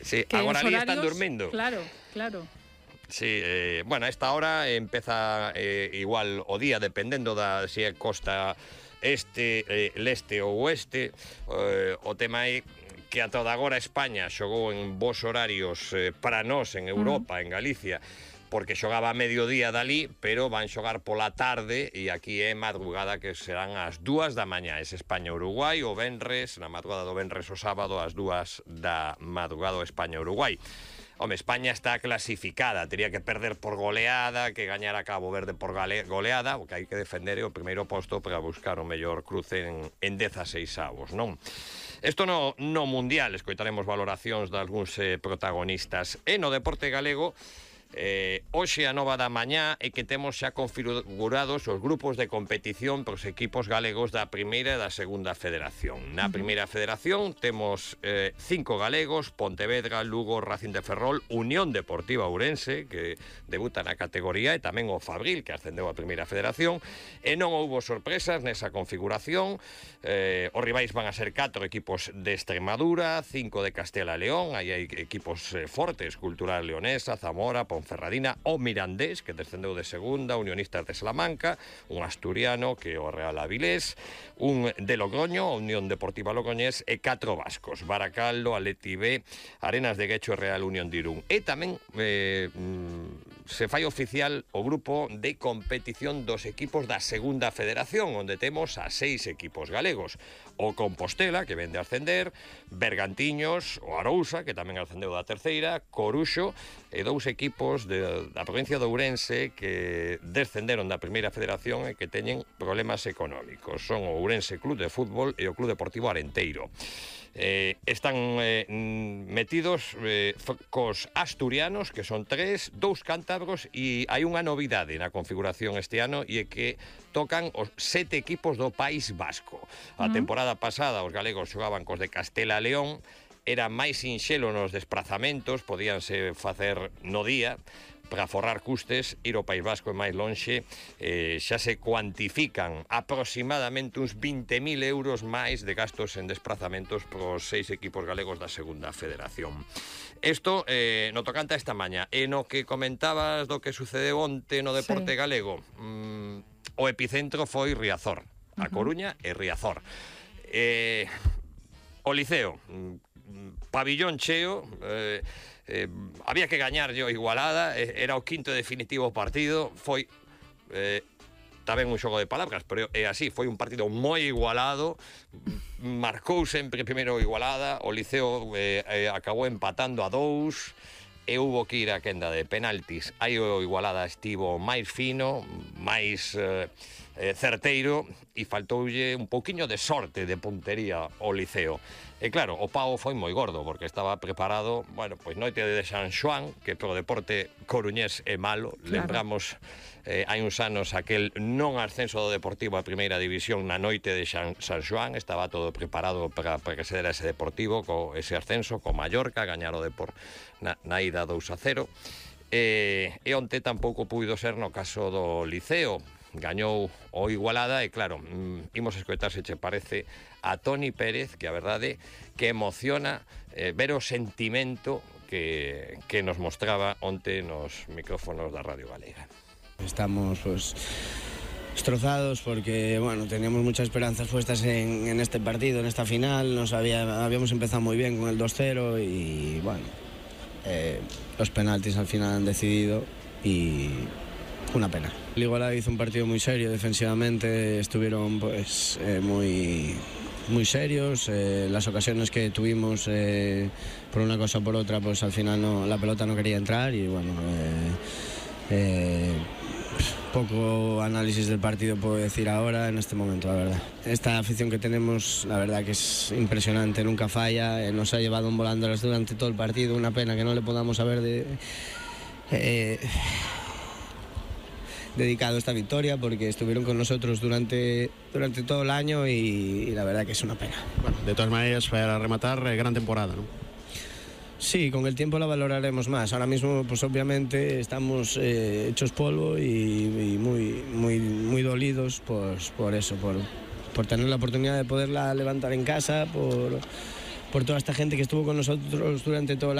Sí, que agora os ali horarios, están dormindo. Claro, claro. Sí, bueno, a esta hora empeza igual o día, dependendo da se é costa este, leste ou oeste. O tema é que a toda agora España xogou en vos horarios para nós en Europa, en Galicia, porque xogaba a mediodía dali, pero van xogar pola tarde e aquí é madrugada, que serán as 2 da mañá. Es España-Uruguai o venres, na madrugada do venres o sábado, as 2 da madrugada o España-Uruguai. Home, España está clasificada, tería que perder por goleada, que gañar a Cabo Verde por goleada, o que hai que defender o primeiro posto para buscar o mellor cruce en 16avos, non? Isto no mundial, escoitaremos valoracións de algúns protagonistas. E no deporte galego, hoxe a nova da mañá é que temos xa configurados os grupos de competición para os equipos galegos da primeira e da segunda federación. Na primeira federación temos 5 galegos: Pontevedra, Lugo, Racing de Ferrol, Unión Deportiva Ourense, que debuta na categoría, e tamén o Fabril, que ascendeu a primeira federación. E non houbo sorpresas nesa configuración. Os rivais van a ser 4 equipos de Extremadura, 5 de Castela e León. Aí hai equipos fortes: Cultural Leonesa, Zamora, Ponferradina, o Mirandés, que descendeu de segunda, Unionistas de Salamanca, un asturiano, que é o Real Avilés, un de Logroño, a Unión Deportiva Logroñés, e 4 vascos: Baracaldo, Atleti B, Arenas de Guecho e Real Unión de Irún. E tamén se fai oficial o grupo de competición dos equipos da segunda federación, onde temos a 6 equipos galegos: o Compostela, que vende a ascender, Bergantiños, o Arousa, que tamén ascendeu da terceira, Coruxo, e 2 equipos da provincia de Ourense que descenderon da primeira federación e que teñen problemas económicos. Son o Ourense Club de Fútbol e o Club Deportivo Arenteiro. Están metidos cos asturianos, que son 3, 2 cántabros, e hai unha novidade na configuración este ano, e é que tocan os 7 equipos do País Vasco. A temporada pasada os galegos xogaban cos de Castela e León, era máis sinxelo nos desplazamentos, podíanse facer no día para forrar custes. Ir ao País Vasco é máis lonxe. Xa se cuantifican aproximadamente uns 20.000 euros máis de gastos en desplazamentos para os 6 equipos galegos da segunda federación. Isto no tocante a esta mañá. E no que comentabas do que sucedeu onte no deporte galego, o epicentro foi Riazor, A Coruña e Riazor. O Liceo, pabillón cheo, había que gañar yo Igualada, era o quinto e definitivo partido. Foi tamén un xogo de palabras, pero é así, foi un partido moi igualado. Marcou sempre primeiro Igualada, o Liceo acabou empatando a 2 e hubo que ir a quenda de penaltis. Aí o Igualada estivo máis fino, máis certeiro, e faltoulle un pouquiño de sorte de puntería ao Liceo. E claro, o pao foi moi gordo, porque estaba preparado, bueno, pois noite de San Xoán, que pro deporte coruñés é malo. Claro. Lembramos hai uns anos aquel non ascenso do Deportivo a primeira división na noite de San Xoán. Estaba todo preparado para que se dera ese Deportivo, co ese ascenso, co Mallorca, gañar o Depor na ida 2-0. E onte tampouco puido ser no caso do Liceo. Gañou o Igualada e claro, imos escoitar, se che parece, a Toni Pérez, que a verdade que emociona ver o sentimento que nos mostraba onte nos micrófonos da Radio Galega. Estamos pues destrozados porque bueno, teníamos muchas esperanzas puestas en este partido, en esta final. Habíamos empezado muy bien con el 2-0 y bueno, los penaltis al final han decidido y una pena. El Igualada hizo un partido muy serio defensivamente, estuvieron pues muy serios. Las ocasiones que tuvimos por una cosa o por otra, pues al final la pelota no quería entrar y bueno, poco análisis del partido puedo decir ahora en este momento, la verdad. Esta afición que tenemos, la verdad que es impresionante, nunca falla, nos ha llevado en volándolas durante todo el partido. Una pena que no le podamos haber dedicado esta victoria, porque estuvieron con nosotros durante todo el año y la verdad que es una pena. Bueno, de todas maneras, para rematar, gran temporada, ¿no? Sí, con el tiempo la valoraremos más. Ahora mismo, pues obviamente estamos hechos polvo y muy dolidos, pues por eso, por tener la oportunidad de poderla levantar en casa, por toda esta gente que estuvo con nosotros durante todo el año.